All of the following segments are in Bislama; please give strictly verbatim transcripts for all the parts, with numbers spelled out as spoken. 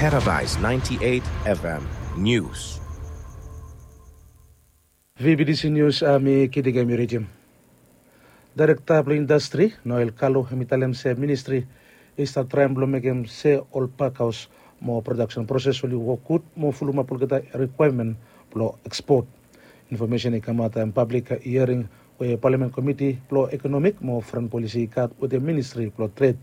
Paradise ninety-eight F M News. V B T C News, ah, mi Kidiga Miridim. Daerekta blong indastri, Noel Kalu, hemi talem se ministri i stap traem blong mekem se ol pakhaos mo prodaksen proses oli wok gud mo fulumap olgeta rikwaemen blong ekspot. Infomesen i kamaot taem pablik hiering we Palamen Komiti blong Ekonomik mo Foren Polisi i gat wetem Ministri blong Tred.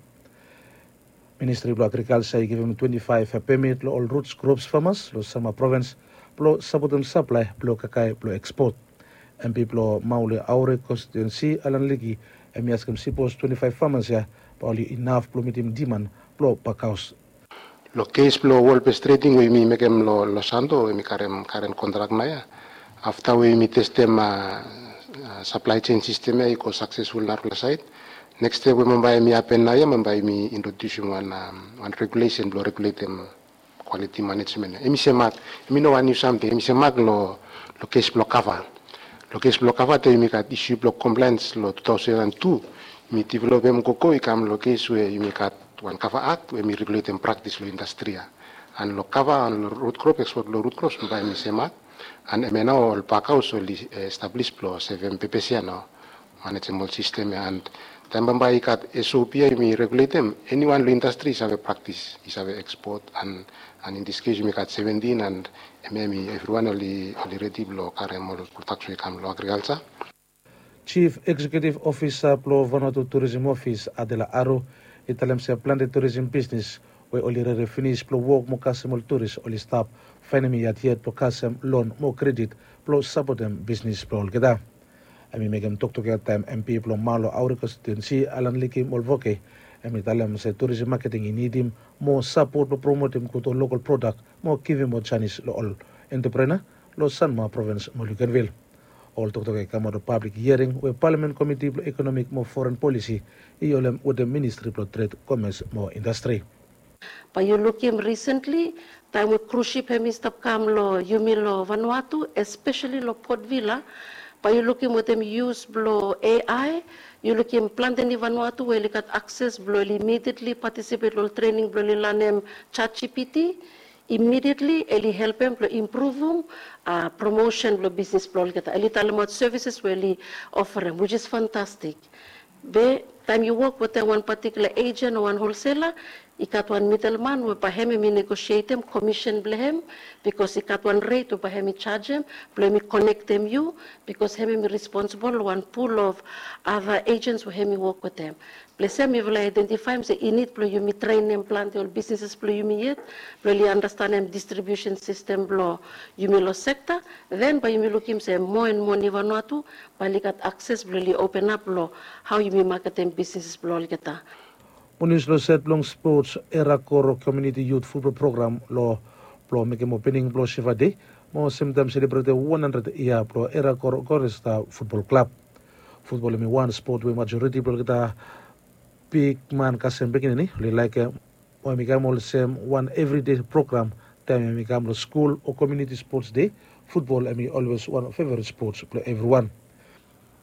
Ministri blong Agrikalja i givim twenti faef pemit long ol rut krops famas long Sanma Provins blong sapotem saplae blong kakae blong ekspot. M P blong Maule Aure konstituensi, Alan Liki, hemi askem sipos twenti faef famas ya bae oli inaf blong mitim diman blong pakhaos. Long kes blong wol bes treding we yumi mekem long Santo, we yumi karem karen kontrak naoia, afta we yumi testem saplae jen sistem ya i go saksesful narafala saed, neks step we bambae hemi hapen naoia, bambae yumi introdiusim wan regulesen blong reguletem kwaliti manejmen ya. Hemi semak, hemi no wan niu samting, hemi semak long kes blong kava. Long kes blong kava, taem yumi gat isu blong komplaens long tu taosen an tu, yumi developem gogo i kam long kes we yumi gat wan kava akt we hemi reguletem praktis long indastri ya. An long kava an long rut krop, ekspot blong rut krops, bambae hemi semak. An hemia nao ol pakhaos oli establis blong sevem pepes ya nao, manejim ol sistem ya. An taem bambae i gat S O P ya yumi reguletem, eniwan long indastri i save praktis, i save ekspot. An in dis kes yumi gat seventin, an hemia hemi evriwan oli redi blong karem ol prodaks we i kam long agrikalja. Jif Eksekiutiv Ofisa blong Vanuatu Turism Ofis, Adela Aro, i talem se plante turism bisnis we oli rere finis blong wok mo kasem ol turis oli stap faenem yet yet blong kasem lon mo kredit blong sapotem bisnis blong olgeta. Hemi mekem toktok ya taem M P blong Malo Aure konstituensi, Alan Liki Molvoke, hemi talem se turism maketing i nidim moa sapot blong promotem gud ol lokol prodak mo givim moa janis long ol entreprenua long Sanma Provins mo Luganville. Ol toktok ya i kamaot long pablik hiering we Palamen Komiti blong Ekonomik mo Foren Polisi i holem wetem Ministri blong Tred, Komes mo Indastri. Bae yu lukim risentli, taem we krus sip hemi stap kam long yumi long Vanuatu, espeseli long Port Vila, bae yu lukim wetem yus blong A I, yu lukim plante ni Vanuatu we oli gat akses blong oli imedietli patisipet long ol trening blong oli lanem Chat G P T, imedietli oli helpem blong impruvum promosen blong bisnis blong olgeta. Oli talemaot sevises we oli oferem, which is fantastic. Be taem yu wok wetem wan patikula ejen o wan holsela, i gat wan midelman we bae hem hemi negosietem komisen blong hem, bikos i gat wan ret we bae hemi jajem blong hemi konektem yu, bikos hem hemi responsibol long wan pul of ada ejens we hemi wok wetem. Ples ya mifala i aedentifaem se i nid blong yumi trenem plante ol bisnises blong yumi yet blong oli andastanem distribiusen sistem blong yumi long sekta. Den bae yumi lukim se moa en moa ni Vanuatu bae oli gat akses blong oli openap long hao yumi maketem bisnis blong olgeta. Mo nius long saed blong spots, Era Koro Komuniti Yut Futbol Program long blong mekem opening blong Siva Dei mo semtaem selebretem wan handred yia blong Era Koro Koresta Futbol Klab. Futbol hemi wan spot we majoriti blong olgeta bigman kasem pikinini oli laekem, mo hemi kam olsem wan evridei program. Taem hemi kam long skul o komuniti spots dei, futbol hemi olwes wan feveret spots blong evriwan.